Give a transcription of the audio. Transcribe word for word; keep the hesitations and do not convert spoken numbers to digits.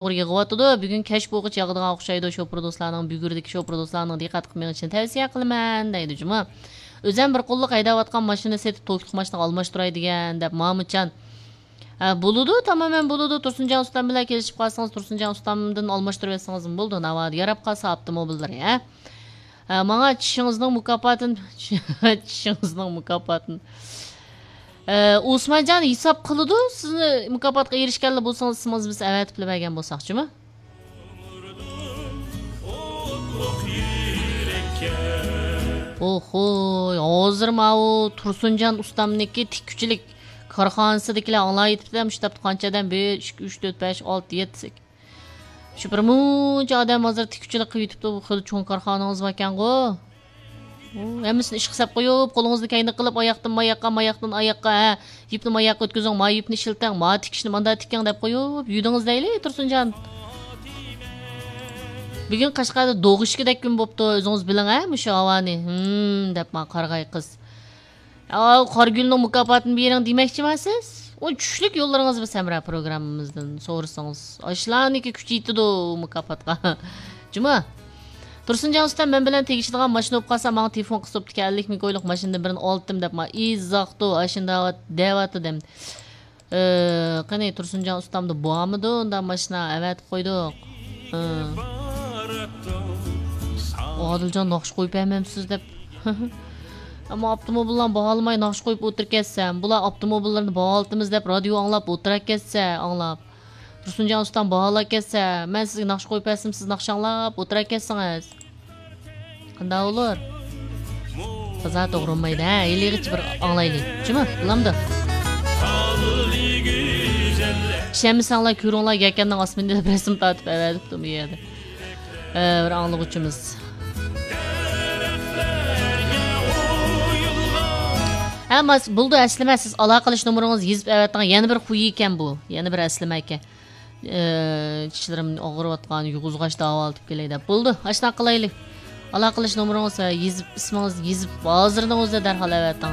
يېغىۋاتىدۇ. بۈگۈن كەچ بولغۇچە ياغىدىغان ئوخشايدۇ. شوپۇر دوستلارنىڭ، بۈگۈردىكى شوپۇر دوستلارنىڭ دىققەت قىلىپ مېڭىشىنى تەۋسىيە قىلىمەن، دەيدۇ جۇمۇ. ئۆزۈم بىر قوللۇق ھەيدەۋاتقان ماشىنا سېتىپ، توكلۇق ماشىنىغا ئالماشتۇراي دېگەن، دەپ مامۇتجان. ھە، بولىدۇ، تامامەن بولىدۇ. تۇرسۇنجان ئۇستام بىلەن كېلىشىپ قالسىڭىز، تۇرسۇنجان ئۇستامدىن ئالماشتۇرۇۋەتسىڭىزمۇ بولىدۇ. ناۋادا ياراپ قالسا ئاپتوموبىللىرى، ھە؟ ھە، ماڭا چىشىڭىزنىڭ مۇكاپاتىنى، چىشىڭىزنىڭ مۇكاپاتىنى. ئە، ئوسمانجان ھېساب قىلىدۇ، سىزنى مۇكاپاتقا ئېرىشكەنلا بولسىڭىز، ئىسمىڭىزنى بىز ئەۋەتىپلا بەرگەن بولساقچىمۇ؟ ئوخۇي، ھازىر ماۋۇ تۇرسۇنجان ئۇستامنىڭكى تىككۈچىلىك كارخانىسىدىكىلەر ئاڭلاۋېتىپتۇ، مۇشۇ تاپتا قانچە ئادەم؟ بىر، ئىككى، ئۈچ، تۆت، بەش، ئالتە، يەتتە، سەككىز. شۇ بىر مۇنچە ئادەم ھازىر تىككۈچىلىك قىلىۋېتىپتۇ، بۇ خېلى چوڭ كارخانىڭىز باركەنغۇ؟ ئۇ، ھەممىسىنى ئىشقا سەپ قويۇپ، قولىڭىزنى كەينىگە قىلىپ، ئاياقتىن ماياققا، ماياقتىن ئاياققا، ھە، يىپنى ماياققا ئۆتكۈزۈڭ، ما يىپنى ئىشلىتىڭ، ما تىكىشنى ماندا تىكىڭ دەپ قويۇپ، يۈدىڭىز دەيلى، تۇرسۇنجان. بۈگۈن قەشقەردە دوغۇشكىدەك كۈن بوپتۇ، ئۆزىڭىز بىلىڭ، ھە، مۇشۇ ھاۋانى. ھىم، دەپ ماڭا قارىغاي قىز. ئاۋۇ قارىگۈلنىڭ مۇكاپاتىنى بېرىڭ دېمەكچىما سىز؟ ئۇ چۈشلۈك يوللىرىڭىز بىز ھەمراھ پروگراممىمىزدىن سورىسىڭىز. ئاشۇلارنىڭكى كۈچى يېتىدۇ مۇكاپاتقا. جۇمۇ. تۇرسۇنجان ئۇستام مەن بىلەن تېگىشىدىغان ماشىنا بولۇپ قالسا، ماڭا تېلېفون قىلسا بوپتىكەن، ئەللىك مىڭ كويلۇق ماشىنىدىن بىرنى ئالدىم دەپ، ما ئىززاقتۇ، ئاشۇنداق دەۋاتىدىم. ئى، قېنى، تۇرسۇنجان ئۇستامدا بارمىدۇ ئۇنداق ماشىنا؟ ئەۋەتىپ قويدۇق. ھە. ئادىلجان ناخشا قويۇپ بەرمەمسىز دەپ. ئەمما ئاپتوموبىللارنى باھالىماي ناخشا قويۇپ ئولتۇرۇپ كەتسەم، بۇلار ئاپتوموبىللىرىنى باھالىتىمىز دەپ رادىيو ئاڭلاپ ئولتۇرۇپ كەتسە، ئاڭلاپ. تۇرسۇنجان ئۇستام باھالاپ كەتسە، مەن سىزگە ناخشا قويۇپ بەرسەم، سىز ناخشا ئاڭلاپ ئولتۇرۇپ كەتسىڭىز. قانداق بولۇر؟ تازا توغرا بولمايدۇ، ھە؟ ھېلىغىچە بىر ئاڭلايلى. شۇمۇ؟ بولامدۇ؟ ئىشەنمىسەڭلار كۆرۈڭلار، يەكەننىڭ ئاسمىنى دەپ رەسىم تارتىپ ئەۋەتىپتۇ بۇ يەردە. ئە، بىر ئاڭلىغۇچىمىز. ھە، ماس، بولدى، ئەسلىمە، سىز ئالاقىلىشىش نومۇرىڭىزنى يېزىپ ئەۋەتىڭ. يەنە بىر خۇي ئىكەن بۇ. يەنە بىر ئەسلىمە ئىكەن. ئى، چىشلىرىم ئاغرىۋاتقان، يۇغۇزغاچ داۋالىتىپ كېلەي دەپ. بولدى، ئاشۇنداق قىلايلى. ئالاقىلىشىش نومۇرىڭىز ۋە يېزىپ، ئىسمىڭىزنى يېزىپ، ھازىرنىڭ ئۆزىدە دەرھال ئەۋەتىڭ.